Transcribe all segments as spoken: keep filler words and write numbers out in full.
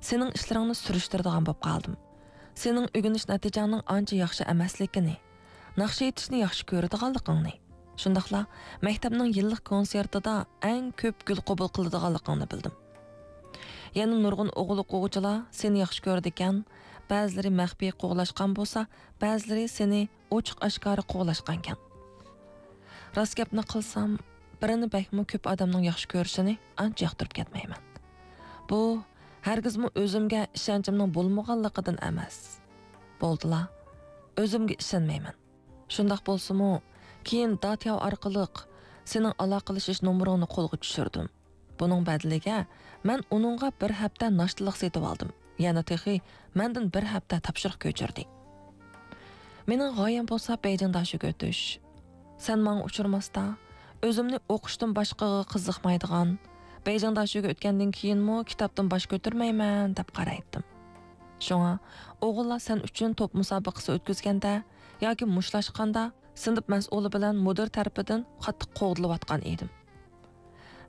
سېنىڭ ئىشلىرىڭنى سۈرۈشتۈرىدىغان بولۇپ قالدىم. سېنىڭ ئۆگىنىش نەتىجەڭنىڭ ئانچە ياخشى ئەمەسلىكىنى، ناخشا ئېيتىشنى ياخشى كۆرىدىغانلىقىڭنى، شۇنداقلا مەكتەپنىڭ يىللىق كونسېرتىدا ئەڭ كۆپ گۈل قوبۇل قىلىدىغانلىقىڭنى بىلدىم. يەنە نۇرغۇن ئوغۇل ئوقۇغۇچىلار سېنى ياخشى كۆرىدىكەن، بەزىلىرى مەخپىي قوغلاشقان بولسا، بەزىلىرى سېنى ئوچۇق ئاشكارا قوغلاشقانكەن. راست گەپنى قىلسام، بىرىنى بەكمۇ كۆپ ئادەمنىڭ ياخشى كۆرۈشىنى ئانچە ياقتۇرۇپ كەتمەيمەن. بۇ ھەرگىزمۇ ئۆزۈمگە ئىشەنچىمنىڭ بولمىغانلىقىدىن ئەمەس. بولدىلا، ئۆزۈمگە ئىشەنمەيمەن. شۇنداق بولسىمۇ، كېيىن داتياۋ ئارقىلىق سېنىڭ ئالاقىلىشىش نومۇرۇڭنى قولغا چۈشۈردۈم. بۇنىڭ بەدىلىگە مەن ئۇنىڭغا بىر ھەپتە ناشتىلىق سېتىۋالدىم. يەنە تېخى مەندىن بىر ھەپتە تاپشۇرۇق كۆچۈردى. مېنىڭ غايەم بولسا بېيجىڭ داشۆگە ئۆتۈش. سەن ماڭا ئۇچرىماستا، ئۆزۈمنى ئوقۇشتىن باشقىغا قىزىقمايدىغان، بېيجىڭ داشۆگە ئۆتكەندىن كېيىنمۇ كىتابتىن باش كۆتۈرمەيمەن دەپ قارايتتىم. شۇڭا ئوغۇللار سەن ئۈچۈن توپ مۇسابىقىسى ئۆتكۈزگەندە ياكى مۇشتلاشقاندا، سىنىپ مەسئۇلى بىلەن مۇدىر تەرىپىدىن قاتتىق قوغدىلىۋاتقان ئىدىم.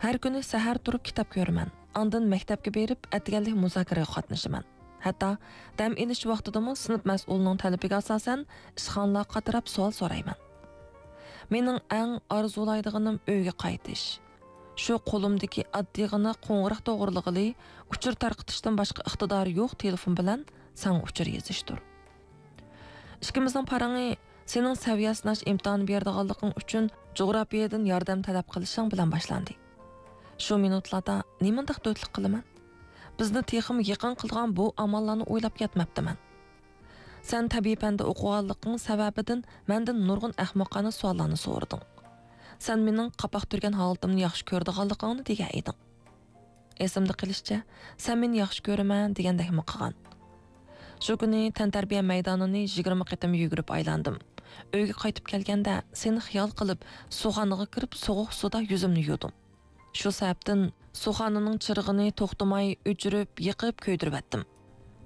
ھەر كۈنى سەھەر تۇرۇپ كىتاب كۆرىمەن. ئاندىن مەكتەپكە بېرىپ، ئەتىگەنلىك مۇزاكىرىگە قاتنىشىمەن. ھەتتا دەم ئېلىش ۋاقتىدىمۇ سىنىپ مەسئۇلىنىڭ تەلىپىگە ئاساسەن ئىشخانىلارغا قاتراپ سوئال سورايمەن. مېنىڭ ئەڭ ئارزۇلايدىغىنىم ئۆيگە قايتىش. شۇ قولۇمدىكى ئاددىيغىنا قوڭغۇراق توغرىلىغىلى ئۇچۇر تارقىتىشتىن باشقا ئىقتىدارى يوق تېلېفون بىلەن ساڭا ئۇچۇر يېزىشتۇر. ئىككىمىزنىڭ پارىڭى سېنىڭ سەۋىيە سىناش ئىمتىھانى بېرىدىغانلىقىڭ ئۈچۈن جۇغراپىيەدىن ياردەم تەلەپ قىلىشىڭ بىلەن باشلاندى. شۇ مىنۇتلاردا نېمانداق دۆتلۈك قىلىمەن؟ بىزنى تېخىمۇ يېقىن قىلىدىغان بۇ ئاماللارنى ئويلاپ يەتمەپتىمەن. سەن تەبىئىي پەندە ئوقۇغانلىقىڭ سەۋەبىدىن مەندىن نۇرغۇن ئەخمىقانە سوئاللارنى سورىدىڭ. سەن مېنىڭ قاپاق تۈرگەن ھالىتىمنى ياخشى كۆرىدىغانلىقىڭنى دېگەن ئىدىڭ. ئېسىمدە قېلىشىچە، سەن مېنى ياخشى كۆرىمەن دېگەندەكمۇ قىلغان. شۇ كۈنى تەنتەربىيە مەيدانىنى يىگىرمە قېتىم يۈگۈرۈپ ئايلاندىم. ئۆيگە قايتىپ كەلگەندە سېنى خىيال قىلىپ، سۇخانىغا كىرىپ، سوغۇق سۇدا يۈزۈمنى يۇدۇم. شۇ سەۋەبتىن سۇخانىنىڭ چىرىغىنى توختىماي ئۆچۈرۈپ، يېقىپ، كۆيدۈرۈۋەتتىم.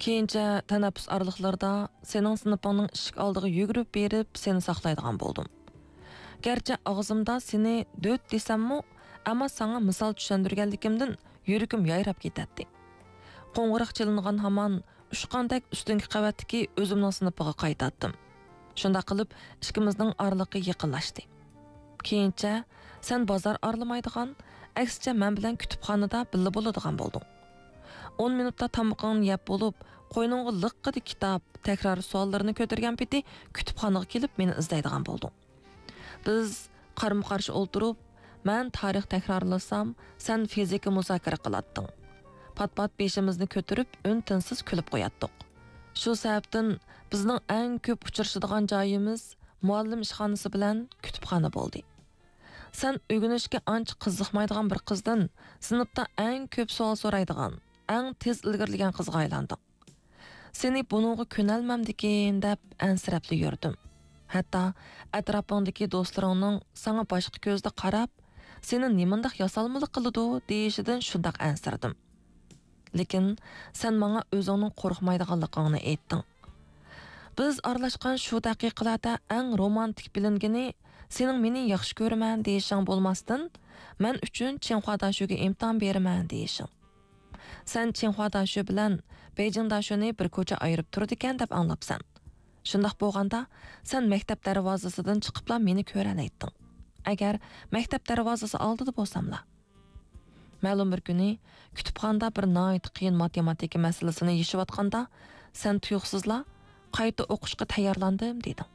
كېيىنچە تەنەپپۇس ئارىلىقلىرىدا سېنىڭ سىنىپىڭنىڭ ئىشىك ئالدىغا يۈگۈرۈپ بېرىپ، سېنى ساقلايدىغان بولدۇم. گەرچە ئاغزىمدا سېنى دۆت دېسەممۇ، ئەمما ساڭا مىسال چۈشەندۈرگەنلىكىمدىن يۈرىكىم يايراپ كېتەتتى. قوڭغۇراق چېلىنغان ھامان ئۇچقاندەك ئۈستۈنكى قەۋەتتىكى ئۆزۈمنىڭ سىنىپىغا قايتاتتىم. شۇنداق قىلىپ، ئىككىمىزنىڭ ئارىلىقى يېقىنلاشتى. كېيىنچە سەن بازار ئارىلىمايدىغان، ئەكسىچە مەن بىلەن كۇتۇپخانىدا بىللە بولىدىغان بولدۇڭ. ئون مىنۇتتا تامىقىڭنى يەپ بولۇپ، قوينۇڭغا لىققىدە كىتاب، تەكرار سوئاللىرىنى كۆتۈرگەن پېتى كۇتۇپخانىغا كېلىپ مېنى ئىزدەيدىغان بولدۇڭ. بىز قارمۇ قارشى ئولتۇرۇپ، مەن تارىخ تەكرارلىسام، سەن فىزىكا مۇزاكىرە قىلاتتىڭ. پات-پات بېشىمىزنى كۆتۈرۈپ، ئۈن-تىنسىز كۈلۈپ قوياتتۇق. شۇ سەۋەبتىن بىزنىڭ ئەڭ كۆپ ئۇچرىشىدىغان جايىمىز مۇئەللىم ئىشخانىسى بىلەن كۇتۇپخانا بولدى. سەن ئۆگىنىشكە ئانچە قىزىقمايدىغان بىر قىزدىن سىنىپتا ئەڭ كۆپ سوئال سورايدىغان، ئەڭ تېز ئىلگىرىلىگەن قىزغا ئايلاندىڭ. سېنى بۇنىڭغا كۆنەلمەمدىكىن دەپ ئەنسىرەپلا يۈردۈم. ھەتتا ئەتراپىڭدىكى دوستلىرىڭنىڭ ساڭا باشقا كۆزدە قاراپ، سېنى نېمانداق ياسالمىلىق قىلىدۇ دېيىشىدىن شۇنداق ئەنسىرىدىم. لېكىن سەن ماڭا ئۆزۈڭنىڭ قورقمايدىغانلىقىڭنى ئېيتتىڭ. بىز ئارىلاشقان شۇ دەقىقىلەردە ئەڭ رومانتىك بىلىنگىنى سېنىڭ مېنى ياخشى كۆرىمەن دېيىشىڭ بولماستىن، مەن ئۈچۈن چىڭخۇا داشۆگە ئىمتىھان بېرىمەن دېيىشىڭ. سەن چىڭخۇا داشۆ بىلەن بېيجىڭ داشۆنى بىر كوچا ئايرىپ تۇرىدىكەن دەپ ئاڭلاپسەن. شۇنداق بولغاندا، سەن مەكتەپ دەرۋازىسىدىن چىقىپلا مېنى كۆرەلەيتتىڭ. ئەگەر مەكتەپ دەرۋازىسى ئالدىدا بولساملا. مەلۇم بىر كۈنى كۇتۇپخانىدا بىر ناھايىتى قىيىن ماتېماتىكا مەسىلىسىنى يېشىۋاتقاندا، سەن تۇيۇقسىزلا «قايتا ئوقۇشقا تەييارلاندىم» دېدىڭ.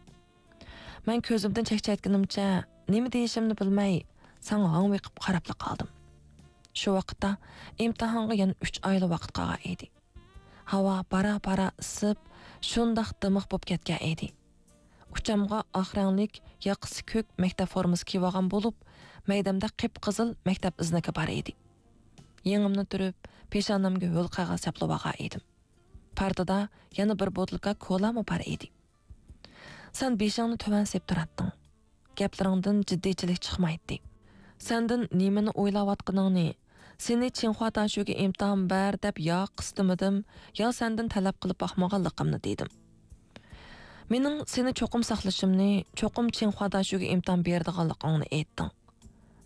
مەن كۆزۈمدىن چەكچەيتكىنىمچە، نېمە دېيىشىمنى بىلمەي، ساڭا ھاڭۋېقىپ قاراپلا قالدىم. شۇ ۋاقىتتا ئىمتىھانغا يەنە ئۈچ ئايلا ۋاقىت قالغان ئىدى. ھاۋا بارا-بارا ئىسسىپ، شۇنداق دىمىق بولۇپ كەتكەن ئىدى. ئۇچامغا ئاق رەڭلىك، ياقىسى كۆك مەكتەپ فورمىسى كىيىۋالغان بولۇپ، مەيدەمدە قىپقىزىل مەكتەپ ئىزنىكى بار ئىدى. يېڭىمنى تۈرۈپ، پېشانەمگە ھۆل قەغەز چاپلىۋالغان ئىدىم. پارتىدا يەنە بىر بوتۇلكا كولامۇ بار ئىدى. سەن بېشىڭنى تۆۋەن سېلىپ تۇراتتىڭ. گەپلىرىڭدىن جىددىيچىلىك چىقمايتتى. سەندىن نېمىنى ئويلاۋاتقىنىڭنى، سېنى چىڭخۇا داشۆگە ئىمتىھان بەر دەپ يا قىستىمىدىم، يا سەندىن تەلەپ قىلىپ باقمىغانلىقىمنى دېدىم. مېنىڭ سېنى چوقۇم ساقلىشىمنى، چوقۇم چىڭخۇا داشۆگە ئىمتىھان بېرىدىغانلىقىڭنى ئېيتتىڭ.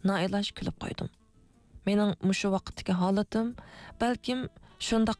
نائىلاج كۈلۈپ قويدۇم. مېنىڭ مۇشۇ ۋاقىتتىكى ھالىتىم بەلكىم شۇنداق